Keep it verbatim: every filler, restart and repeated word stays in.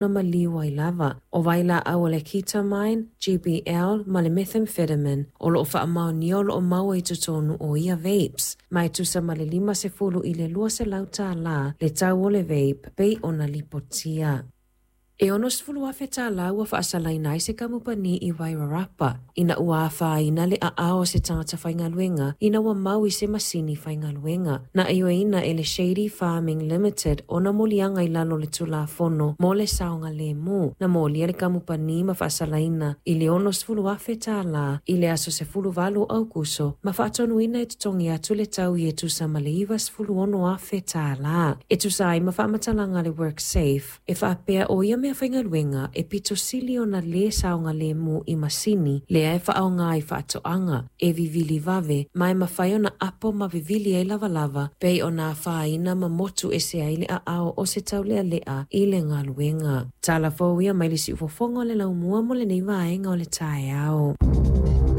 Na maliu ai lava. O vailaau o le ketamine, G B L ma le methamphetamine o loo faamaonia o loo maua i totonu o ia vapes. Ma e tusa ma le lima sefulu i le lua selau tālā le tau o le vape pei ona lipotia. E ono sefulu afe tālā ua faasalaina ai se kamupani i Wairarapa ina ua afaina le aao o se tagata faigaluega ina ua mau i se masini faigaluega. Na ioeina e le Shady Farming Limited ona moliaga i lalo o le Tulafono mo le Saogalemu. Na molia le kamupani ma faasalaina i le ono sefulu afe tālā i le aso sefulu valu o Aukuso ma faatonuina e totogi atu le tau i e tusa ma le iva sefulu ono afe tālā. E tusa ai ma faamatalaga a le WorkSafe, e faapea o ia mea faigaluega e pito sili ona lē saogalemu i masini lea e faaaoga i faatoaga e vivili vave ma e mafai ona apo ma vivili ai lavalava pei ona afaina ma motu ese ai le aao o se taulealea i le galuega. Tala fou ia mai le siufofoga o le laumua mo lenei vaega o le taeao.